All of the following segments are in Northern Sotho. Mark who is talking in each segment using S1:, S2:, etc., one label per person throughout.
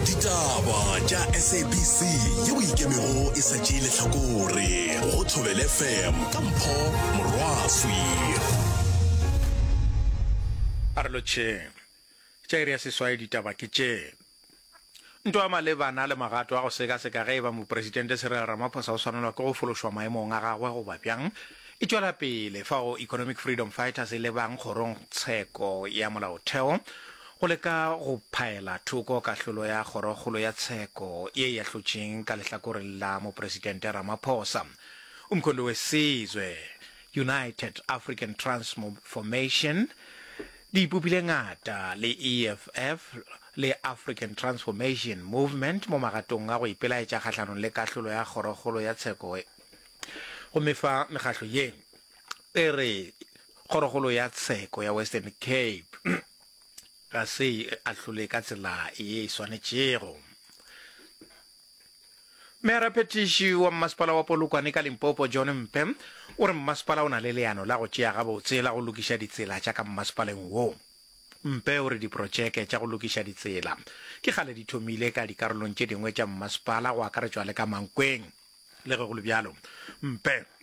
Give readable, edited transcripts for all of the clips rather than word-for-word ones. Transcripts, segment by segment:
S1: Ditaba tša SABC yeo e ikemego e sa tšee lehlakore go Thobela FM ka Mpho Morwaswi.
S2: A re lotšheng. Tša iri ya seswai ditaba ke tše. Ntwa malebana le magato a go sekaseka ge e ba Mopresidente Cyril Ramaphosa o swanelwa ke go fološwa maemong a gagwe goba bjang e tšwela pele fao Economic Freedom Fighters e lebang kgorongtsheko ya molaotheo go leka go phaela thoko kahlolo ya Kgorokgolo ya Tsheko ye e ahlotšeng ka lehlakoreng la Mopresidente Ramaphosa. Umkhonto we Sizwe, United African Transformation, di ipopile ngata le EFF le African Transformation Movement mo magatong a go ipelaetša kgahlanong le kahlolo ya Kgorokgolo ya Tsheko gomme fa mekgahlo ye e re Kgorokgolo ya Tsheko ya Western Cape ga se e ahlole ka tsela ye e swanetšego. Meyaraphethiši wa mmasepala wa Polokwane ka Limpopo, John Mpe, o re mmasepala o na le leano la go tšea gabotse la go lokiša ditsela tša ka mmasepaleng wo. Mpe o re diprotšeke tša go lokiša ditsela ke kgale di thomile ka dikarolong tše dingwe tša mmasepala go akaretšwa le ka Mankweng. Le ge go le bjalo, Mpe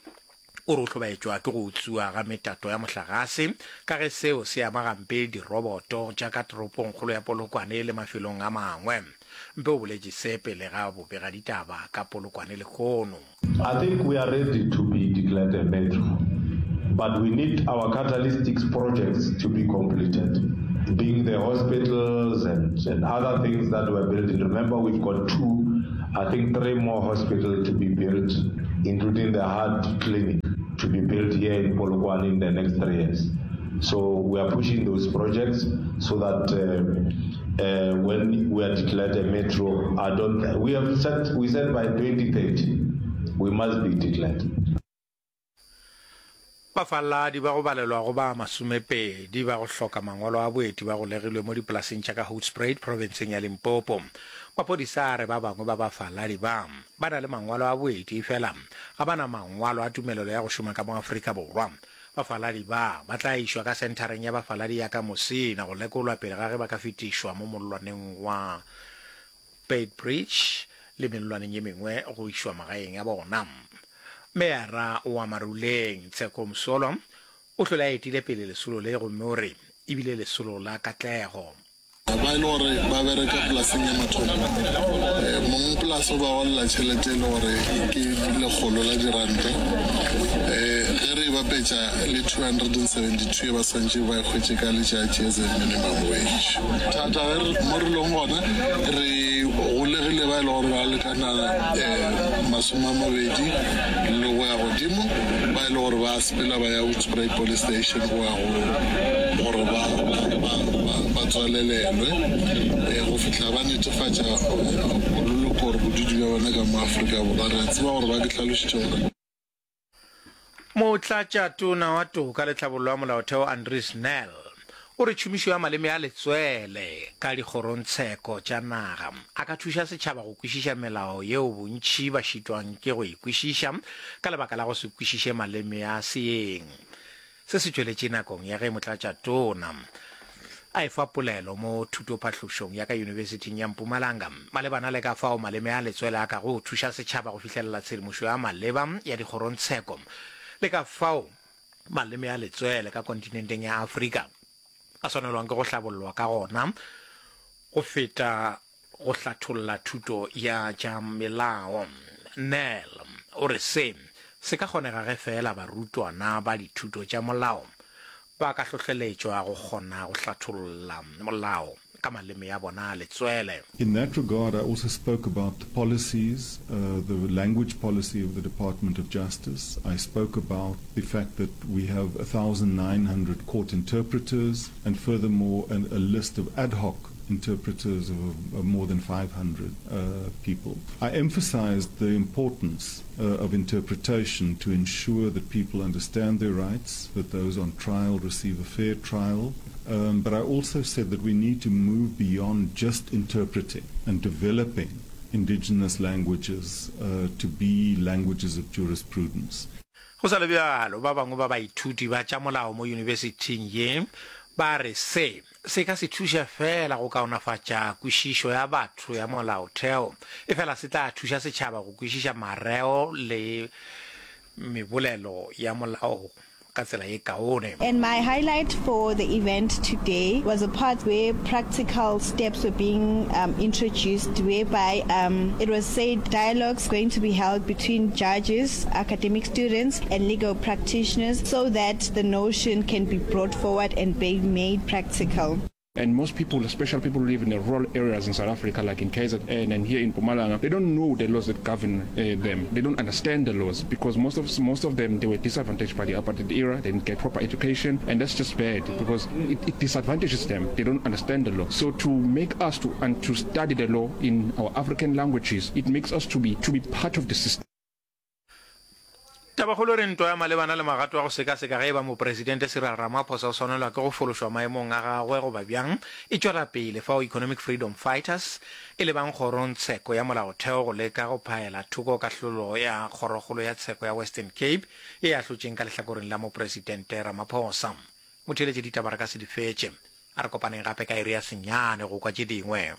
S2: o re o hlobaetšwa ke go utswiwa ga metato ya mohlagase ka ge seo se ama gampe diroboto tša ka toropongkgolo ya Polokwane le mafelong a mangwe. Mpe o boletše se pele ga bobegaditaba ka Polokwane lehono.
S3: I think we are ready to be declared a metro but we need our catalytics projects to be completed being the hospitals and, and other things that we're building. Remember we've got two, I think three more hospitals to be built including the heart clinic to be built here in Polokwane in the next three years. So we are pushing those projects so that uh, uh, when we are declared a metro, I don't. We have said we said by 2030 we must be declared.
S2: Bafaladi ba go balelwa go ba masomepedi ba go hloka mangwalo a boeti ba golegilwe mo dipolaseng tša ka Hoedspruit profenseng ya Limpopo. Maphodisa a re ba bangwe ba bafaladi ba, ba na le mangwalo a boeti efela ga ba na mangwalo a tumelelo ya go šoma ka mo Afrika Borwa. Bafaladi ba, ba tla išwa ka senthareng ya bafaladi ya ka Musina go lekolwa pele ga ge ba ka fetišwa mo mollwaneng wa Beitbridge le mellwaneng ye mengwe go išwa magaeng a bona. Meyara wa Maruleng, Tsheko Msolwa, o hlole a etile pele lesolo le gomme o re e bile lesolo la katlego.
S4: Ba e le gore ba bereka polaseng ya mathomo, mong polase o ba golela tšhelete e le gore ke lekgolo la diranta. Ge re e bapetša le 272 e ba swantše ba e hwetše ka letšatši as a minimum wage. Thata ge re mo re leng gona re golegile ba e le gore ba lekana masome a mabedi le go ya godimo ba e le gore ba sepela ba ya Hoedspruit Police Station go ya go gore ba ba ba tswalelelwe go fihla ba netefatša bololoko gore bodudi bja bona ka mo Afrika Borwa. Re a tseba gore ba ke hlalošitše gore.
S2: Motlatšatona wa Toka le Tlhabollo ya Molaotheo Andries Nel o re tšhomišo ya maleme a letswele ka dikgorongtsheko tša naga a ka thuša setšhaba go kwešiša melao yeo bontši ba šitwang ke go e kwešiša ka lebaka la go se kwešiše maleme a seeng. Se se tšweletše nakong ya ge motlatšatona a efa polelo mo thutophahlošong ya ka Yunibesithing ya Mpumalanga malebana le ka fao maleme a letswele a kago thuša setšhaba go fihlelela tshedimošo ya maleba ya dikgorongtsheko le ka fao maleme a letswele ka kontinenteng ya Afrika a swanelwang ke go hlabollwa ka gona go feta go hlatholla thuto ya tša melao. Nel o re se se ka kgonega ge feela barutwana ba dithuto tša molao ba ka hlohleletšwa go kgona go hlatholla molao ka maleme a bona a letswele.
S5: In that regard, I also spoke about the policies, uh, the language policy of the Department of Justice. I spoke about the fact that we have 1,900 court interpreters and furthermore an, a list of ad hoc interpreters of, of more than 500 uh, people. I emphasized the importance uh, of interpretation to ensure that people understand their rights, that those on trial receive a fair trial. Um, but I also said that we need to move beyond just interpreting and developing indigenous languages uh, to be languages of jurisprudence.
S2: Go sa le bjalo, ba bangwe ba baithuti ba tša molao mo yunibesithing ye Ba re se se ka se thuše feela go kaonafatša kwešišo ya batho ya molaotheo, efela se tla thuša setšhaba go kwešiša mareo le mebolelo ya molao ka tsela ye kaone.
S6: And my highlight for the event today was a part where practical steps were being um, introduced, whereby um, it was said dialogues going to be held between judges, academic students, and legal practitioners so that the notion can be brought forward and be made practical.
S7: And most people, especially people who live in the rural areas in South Africa, like in KZN and here in Mpumalanga, they don't know the laws that govern uh, them. They don't understand the laws because most of most of them they were disadvantaged by the apartheid era. They didn't get proper education, and that's just bad because it, it disadvantages them. They don't understand the law. So to make us to and to study the law in our African languages, it makes us to be to be part of the system.
S2: Tabakgolo e re ntwa ya malebana le magato a go sekaseka ge e ba Mopresidente Cyril Ramaphosa o swanelwa ke go fološwa maemong a gagwe goba bjang e tšwela pele fao Economic Freedom Fighters e lebang kgorongtsheko ya molaotheo go leka go phaela thoko kahlolo ya Kgorokgolo ya Tsheko ya Western Cape ye e ahlotšeng ka lehlakoreng la Mopresidente Ramaphosa. Motheeletše ditaba re ka se di fetše. A re kopaneng gape ka iri ya senyane go kwa tše dingwe.